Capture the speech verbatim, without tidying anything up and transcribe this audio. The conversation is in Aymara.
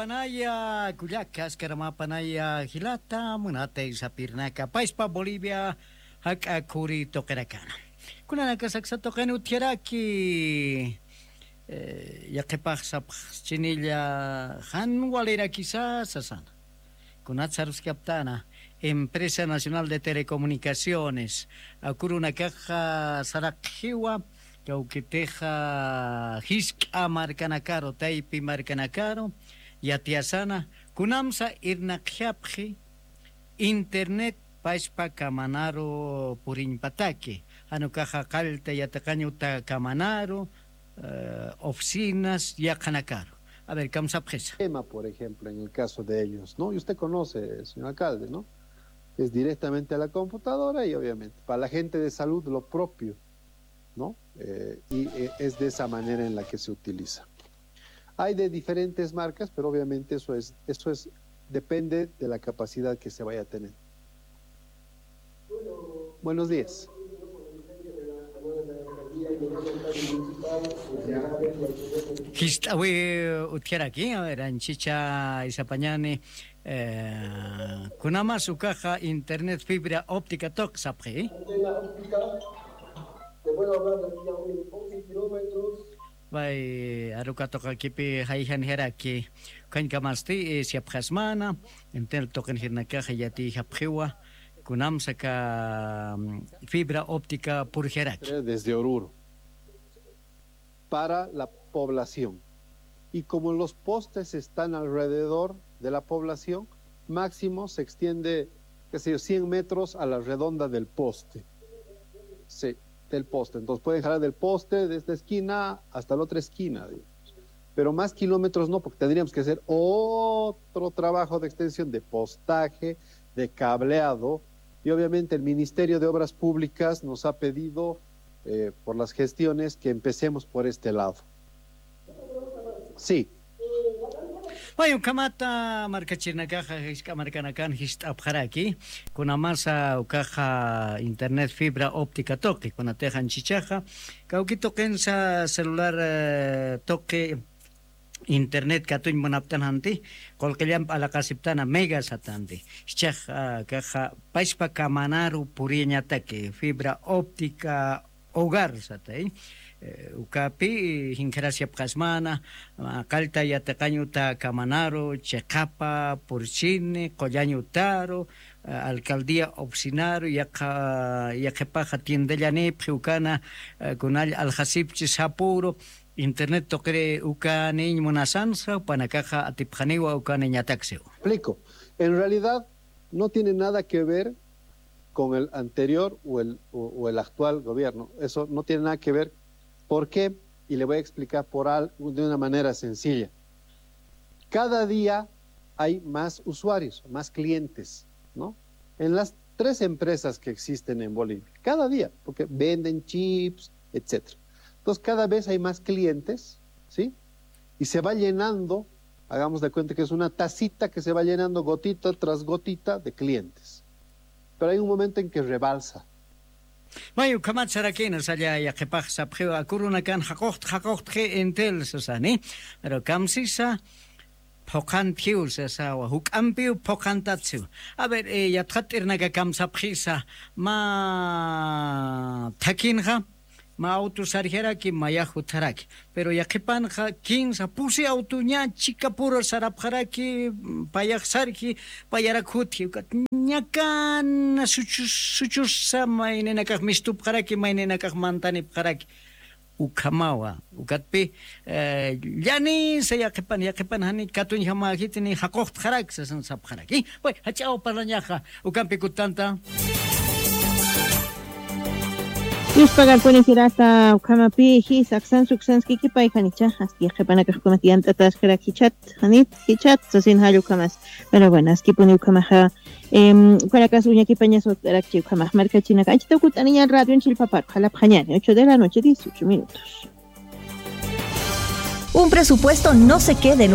Panaya kullaka, askaramä panaya jilata, munatay sapirnaka, pachpa Bolivia jak'a khuri tuqinakana. Kunanakasa aksa tuqin utjaraki, eh, yaqhipax sapxchinilla jan walirakisa sasana. Kunat saruskaptana, Empresa Nacional de Telecomunicaciones, akurunakaxa saraqxiwa, kawkitixa jisk'a markanakaru, taypi markanakaru, yatiyasana, kunamsa irnaqjapxi, internet pachpa kamanaru puriñpataki, jan ukaxa qallta yatiqañ uta kamanaru, eh, oficinas, yaqhanakaru. A ver, kamsapxisa. Tema, por ejemplo, en el caso de ellos, ¿no? Y usted conoce, señor alcalde, ¿no? Es directamente a la computadora y obviamente para la gente de salud lo propio, ¿no? Eh, y, eh, es de esa manera en la que se utiliza. Hay de diferentes marcas, pero obviamente eso es, eso es, depende de la capacidad que se vaya a tener. Buenos días. Jist'awi utjaraki, a ver, anchicha isapañani, eh, kunamas ukaxa internet fibra óptica tuq sapxi. Antena óptica, te puedo hablar de aquí a once kilómetros. Pay aruka tuqakipi jayjanjaraki, ukhañkamasti, eh, siyapxasmana, entonces tuqin jirnakaxa yatiyjapxiwa, kunamsa aka, mm, fibra óptica purjaraki. Desde Oruro para la población. Y como los postes están alrededor de la población, máximo se extiende, qué sé yo, cien metros a la redonda del poste. Sí, del poste. Entonces pueden jalar del poste de esta esquina hasta la otra esquina, digamos. Pero más kilómetros no, porque tendríamos que hacer otro trabajo de extensión, de postaje, de cableado. Y obviamente el Ministerio de Obras Públicas nos ha pedido, eh, por las gestiones, que empecemos por este lado. Sí. Pay ukhamata markachirinakaxa jisk'a markanakan jist'apxaraki, kunamasa ukaxa internet fibra óptica tuqi, kunatix anchichaxa, kawki tuqinsa celular, eh, tuqi internet katuñ munaptan janti, qullqillamp alaqasiptana mega satanti. Jichhax, ah, akaxa pachpa kamanaru puriyañataki, fibra óptica hogar satay. Eh, ukapi, eh, jinkharas yapxasmana, ah, qallta yatiqañ uta kamanaru, chiqapa, purchini, qullañ utaru, ah, alcaldía oficinaru, yaqha, yaqhipaxa tiendallanipxi ukana, ah, kunall aljasipchi sapuru, internet tuqiri ukaniñ munasansa, jupanakaxa atipxaniwa ukaniñataksiw. Explico. En realidad, no tiene nada que ver con el anterior o el, o, o el actual gobierno. Eso no tiene nada que ver. ¿Por qué? Y le voy a explicar por al-, de una manera sencilla. Cada día hay más usuarios, más clientes, ¿no? En las tres empresas que existen en Bolivia. Cada día, porque venden chips, etcétera. Entonces, cada vez hay más clientes, ¿sí? Y se va llenando, hagamos de cuenta que es una tacita que se va llenando gotita tras gotita de clientes. Pero hay un momento en que rebalsa. May ukhamat sarakïna, salla yaqhipax sapxiw, akurunakan jaquxt jaquxtxi Entel sasani, pero kamsisa phuqhantjiw sasawa, juk'ampiw phuqhantatsiw. A ver, eh, yatxat t'irnaka kamsapxisa, mä thakhinxa mä auto sarjaraki, mayax jutjaraki. Pero yaqhipanxa kinsa pusi autoña chikapura sarapxaraki, payax sarji, payarak jutji. Ukat ñakana suchus, suchusa mayninakax mistupxaraki, mayninakax mantanipxaraki. Ukhamawa, ukatpi, eh, llanisa yaqhipan, yaqhipan jani katuñjamäjiti ni jaquxtxarak sasan sapxaraki. Way, jach'aw parlañaxa, ukampi kutanta. Yuspagarpuni jirata, ukhamapi, jis, aksan, suksanskikipay, janichaxa, yaqhipanakax ukamat yant'ataskaraki, chat, janit, jichat, sasin jall ukhamas. Pero bueno, askipuni ukhamaxa, em, ukanakas uñakipañas ut'arakchi ukhamax markachinaka. Anchita ukut'aniñan radion chillpaparu, jalapxañani, ocho de la noche, dieciocho minutos. Un presupuesto no se quede en